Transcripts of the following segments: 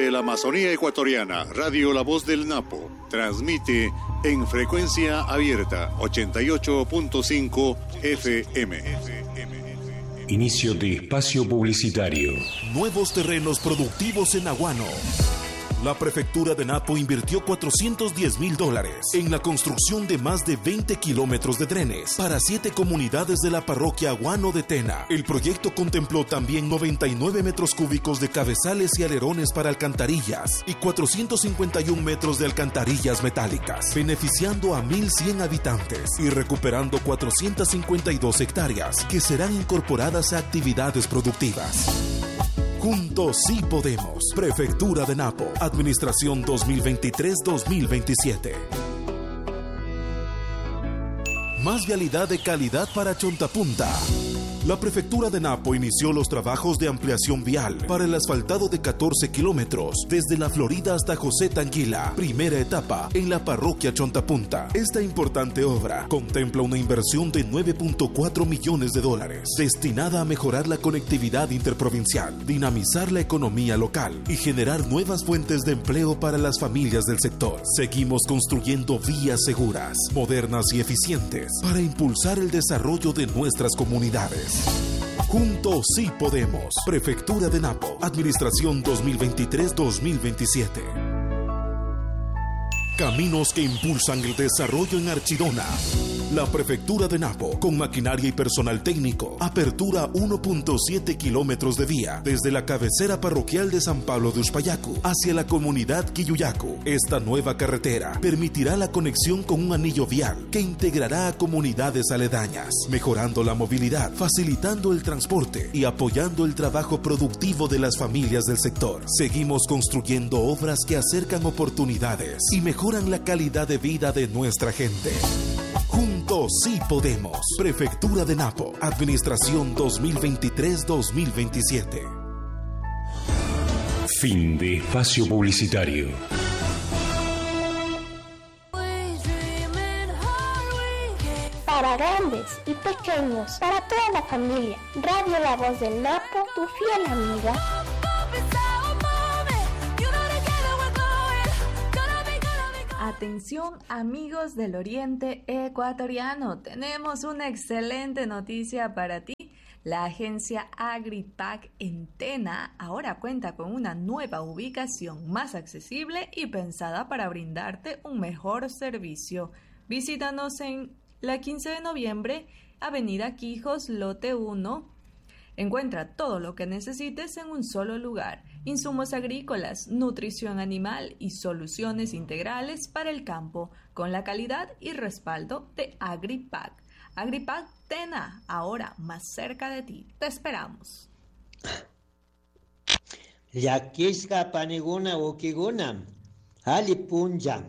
Desde la Amazonía ecuatoriana, Radio La Voz del Napo transmite en frecuencia abierta 88.5 FM. Inicio de espacio publicitario. Nuevos terrenos productivos en Aguano. La prefectura de Napo invirtió 410 mil dólares en la construcción de más de 20 kilómetros de drenes para 7 comunidades de la parroquia Aguano de Tena. El proyecto contempló también 99 metros cúbicos de cabezales y alerones para alcantarillas y 451 metros de alcantarillas metálicas, beneficiando a 1.100 habitantes y recuperando 452 hectáreas que serán incorporadas a actividades productivas. Juntos sí podemos. Prefectura de Napo. Administración 2023-2027. Más vialidad de calidad para Chontapunta. La Prefectura de Napo inició los trabajos de ampliación vial para el asfaltado de 14 kilómetros desde la Florida hasta José Tanguila, primera etapa en la parroquia Chontapunta. Esta importante obra contempla una inversión de 9.4 millones de dólares destinada a mejorar la conectividad interprovincial, dinamizar la economía local y generar nuevas fuentes de empleo para las familias del sector. Seguimos construyendo vías seguras, modernas y eficientes para impulsar el desarrollo de nuestras comunidades. Juntos sí podemos. Prefectura de Napo. Administración 2023-2027. Caminos que impulsan el desarrollo en Archidona. La Prefectura de Napo, con maquinaria y personal técnico, apertura 1.7 kilómetros de vía desde la cabecera parroquial de San Pablo de Uspayacu hacia la comunidad Quilluyacu. Esta nueva carretera permitirá la conexión con un anillo vial que integrará a comunidades aledañas, mejorando la movilidad, facilitando el transporte y apoyando el trabajo productivo de las familias del sector. Seguimos construyendo obras que acercan oportunidades y mejoran la calidad de vida de nuestra gente. Juntos sí podemos. Prefectura de Napo. Administración 2023-2027. Fin de espacio publicitario. Para grandes y pequeños, para toda la familia. Radio La Voz del Napo, tu fiel amiga. Atención amigos del Oriente Ecuatoriano, tenemos una excelente noticia para ti. La agencia AgriPac en Tena ahora cuenta con una nueva ubicación más accesible y pensada para brindarte un mejor servicio. Visítanos en la 15 de noviembre, Avenida Quijos, Lote 1. Encuentra todo lo que necesites en un solo lugar. Insumos agrícolas, nutrición animal y soluciones integrales para el campo, con la calidad y respaldo de AgriPac. AgriPac Tena, ahora más cerca de ti. Te esperamos. Llakishka paniguna ukiguna, ali punlla.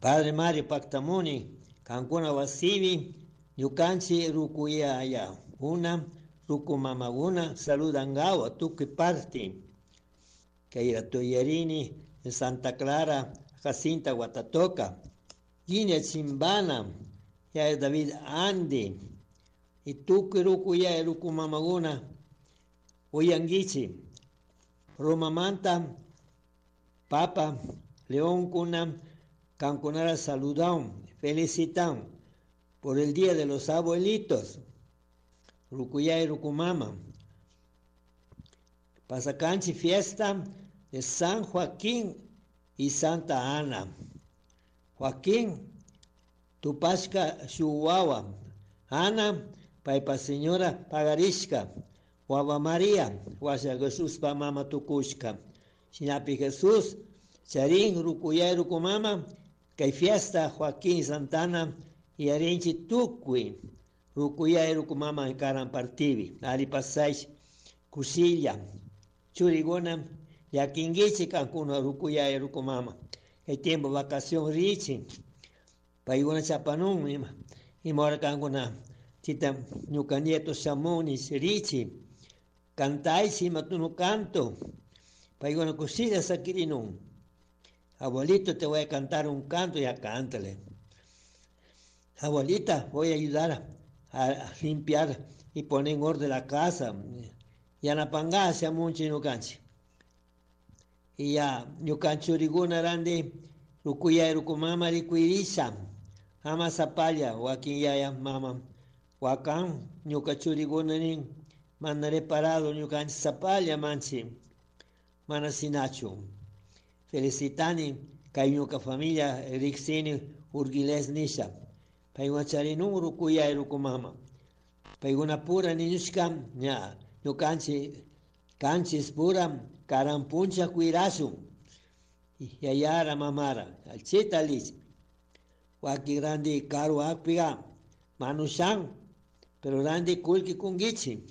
Padre Mario Pactamuni, kankuna wasibi, ñukanchi rukuyaya, una ruku mamaguna, saludangawa, tukuy parti. Kayra Toyarini, en Santa Clara, Jacinta Guatatoca, Guinea Chimbana, ya David Andy, y tukuy rukuyaya ruku mamaguna, uyanguichi. Roma Manta, Papa, León Cuna, Cancunara saludan, felicitan por el Día de los Abuelitos, Rucuyá y Rucumama. Pasacanchi fiesta de San Joaquín y Santa Ana. Joaquín, Tupashka Shuwawa, Ana, Paipa Señora Pagarishka, Guava María, Guasha Jesús pa Mama Tukushka. Shinapi Jesús, Charín, Rucuyá y Rucumama, que fiesta Joaquín Santana y Arinchi Tukui, Rucuyá y Rucumama en Karan Partivi, Ali Pasay, Kusilla, Churigona, Yaquinguichi, Cancuna, Rucuyá y Rucumama. El tiempo vacación Richi, Paiguna Chapanún, y mora Cancuna, Chita, Ñuca Nieto Chamonis, Richi, Cantaichi, Matuno Canto, Paiguna Kusilla Saquirinun. Abuelito, te voy a cantar un canto, ya cántale. Abuelita, voy a ayudar a limpiar y poner en orden la casa. Yanapangá, mucho no canche. Ya ñuka churikuna randi rukuyay rukumama rikuirisha ama sapalla wakin yaya mama wakan ñuka churikuna nin mana reparado ñukanchik sapalla manchi mana sinachu. Felicitani kay ñuka familia riksini Urguiles nisha paykuna charinun rukuyay rukumama paykuna pura niñushka ña ñukanchik kanchis pura karan puncha cuirashun yayara mamara alchita lich wakin randi karu akpiga manushan pero randi kullki kunkichi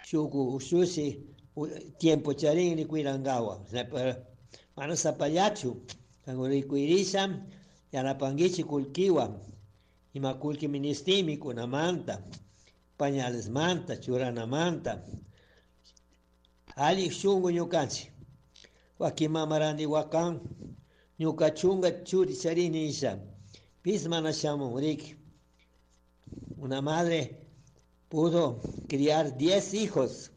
shuku ushushi tiempo charin rikuirangawa mana sapallachu kanku rikuirisha yanapankichi kullkiwan ima kullki ministin mikunamanta pañalesmanta churanamanta alli shunku ñukanchik wakin mama randi wakan ñuka chunga churi charini nisha pis mana shamun riki. Una madre pudo criar 10 hijos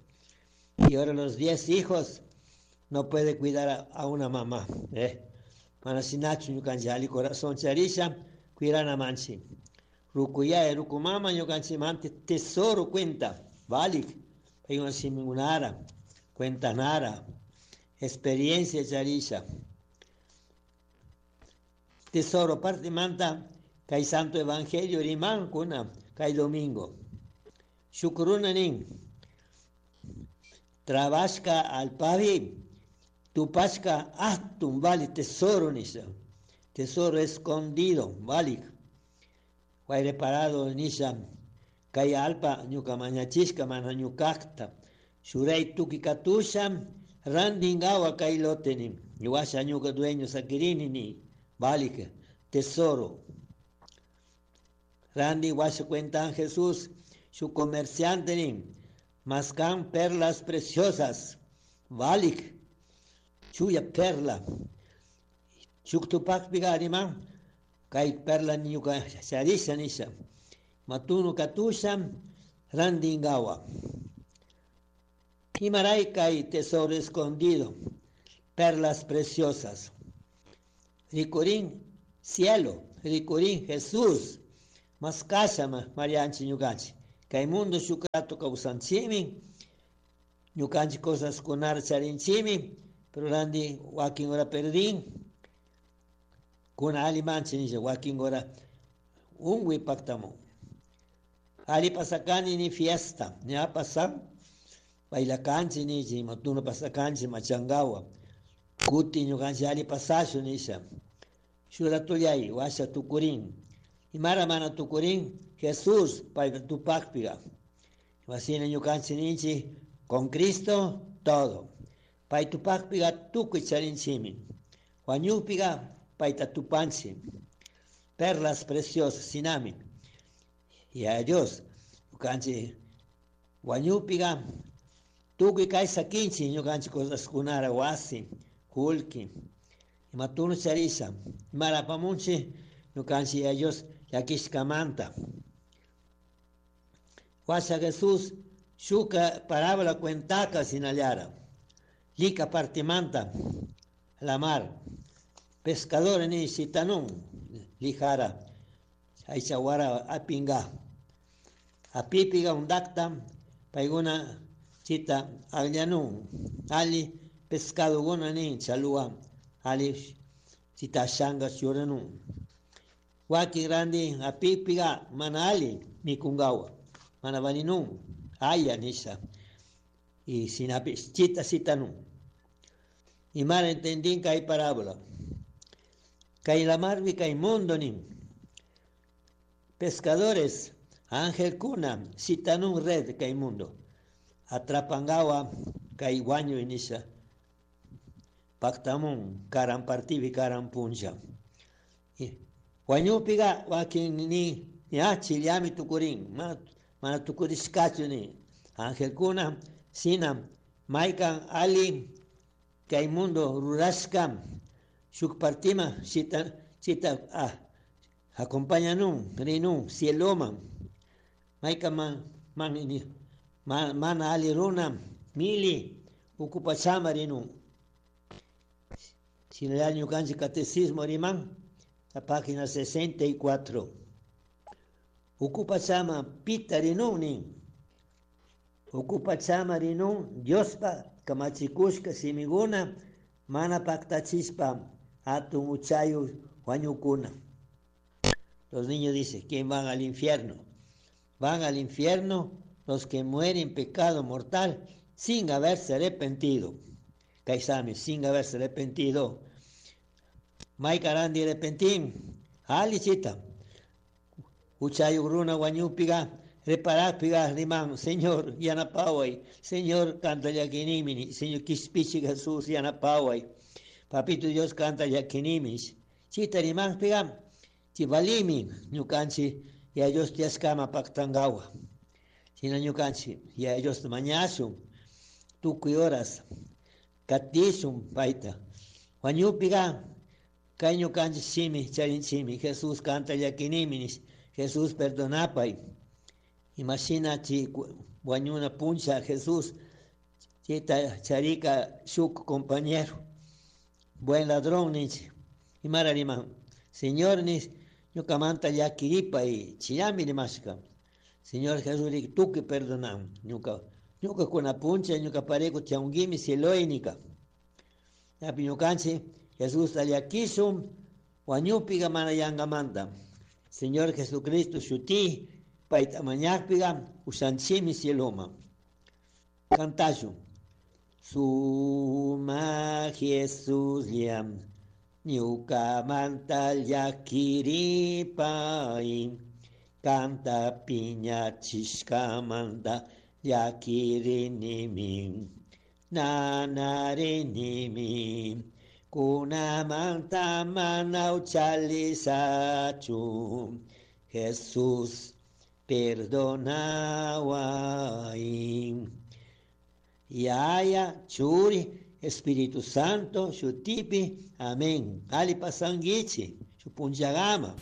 y ahora los 10 hijos no puede cuidar a una mamá. Mana sinachu ñukanchik alli corazón charisha cuirana manchi. Rukuyay rukumama ñukanchikmanta tesoro cuenta valik paykuna shimikunara cuentanara experiencia charisha. Tesoro partimanta kay Santo Evangelio rimankuna kay domingo. Shukruna nin trabashka alpavi tupashka atun vali tesoro nisha. Tesoro escondido valik. Reparado nisha kay alpa ñuka mañachishka mana ñukakta. Shuray tuki katusha randingawa kay lote ni. Washa ñuka dueño sakirini ni. Valik tesoro. Randi washa cuentan Jesús su comerciante ni. Mascan perlas preciosas. Valik. Chuya perla. Shuktupak pigarima. Kay perla ñuka charisha nisha. Matunu katusha randingawa. Imaray kay tesoro escondido. Perlas preciosas. Rikurin cielo, rikurin Jesús. Mas kasha marianchi ñukanchik. Kay mundo shukrato kawsanchimi. Ñukanchik cosas kunar charinchimi. Pero randi wakin ora perdin. Kuna ali manchi nisha wakin ora unwi pactamu. Ali pasakani ni fiesta. Ña pasan. Bailakanchi nichi, matuna pasakanchi machangawa. Kuti ñukanchik ali pasashu nisha. Shuratuyay washa tukurin. Imara mana tukurin Jesús payta tupakpiga. Wasina ñukanchik ninchi con Cristo todo. Pay tupakpiga tukuy charinchimi. Wañukpiga payta tupanchi. Perlas preciosas sinami. Y a Dios ñukanchik wañukpiga tukuy kay sakinchik ñukanchik cosaskunara wasi kullki. Imatunu charisha. Imara apamunchik ñukanchik a Dios llakishkamanta. Washa Jesús shuka parábola cuentaka sinallara. Lika partimanta la mar. Pescadores ni sitanun lijara. Aychawara apinga. Apipiga undakta payguna chita agllanun. Ali pescado guna ni chalua. Ali chita shanga churanun. Waki grande apipiga mana ali mikungawa. Mana valinun. Aya nisha. Y sinapi chita sitanun. Y mara entendín que hay parábola. Kay la marvi kay mundo nin. Pescadores, ángel kuna, sitanun red kay mundo. Atrapangawa kay guaño inisha. Pactamun, karan partivi, karan puncha. Guañupiga wakin ni, ya chiliami tukurin, mana tukurishkachu ni. Ángel kuna, sina, maikan ali, kay mundo rurashka, shuk partima, chita, chita, ah, acompañanun, rinun, cieloma, maika man, man, man, mana ali runa, mili, ukupachama rinun. Shinalla ñukanchik catecismo riman, la página 64. Ukupachama pita rinun nin. Ukupachama rinun Diospa kamachikushka simiguna mana paktachispa hatun uchayu huañukuna. Los niños dicen, ¿quién van al infierno? Van al infierno los que mueren en pecado mortal sin haberse arrepentido. Kaisami, sin haberse arrepentido. Maikarandi arrepentín. Alichita. Uchayu runa huañupiga, reparápiga rimán, Señor, yanapaway, Señor, canta yaquinimini, Señor, quispichi Jesús, yanapaway. Papito Dios canta yaquinimis. Chita rimán piga, chivalimi, ñukanchi, ya Dios tiaskama paktangawa. Sina ñukanchi, ya Dios mañasun, tukuy horas, katishun paita. Huañupiga, kay ñukanchi shimi, charinchimi, Jesús canta yaquiniminis. Jesús perdonapay. Imagina chi huañuna puncha Jesús, chita charika shuk compañero, buen ladrón nichi. Imara riman, Señor nis, ñukamanta llakiripa y chiyami rimashka. Señor Jesús rik tuki perdonan, ñuka, ñuka kuna puncha, ñuka pareco tiaunguimi cieloinica. Yapi ñukanchi, Jesús llakishun, huañupiga mana yangamanta. Señor Jesucristo, shuti, paita mañakpiga, ushanchimi cieloma. Cantashu. Suma Jesús liam, ñukamanta llakiripai, canta piña chishkamanta llakirinimi, nanarinimi, kunamanta mana uchalisachu, Jesús perdonawai. Yaya, Churi, Espíritu Santo, Shutipi, amén. Ali pasanguichi, Chupunchagama.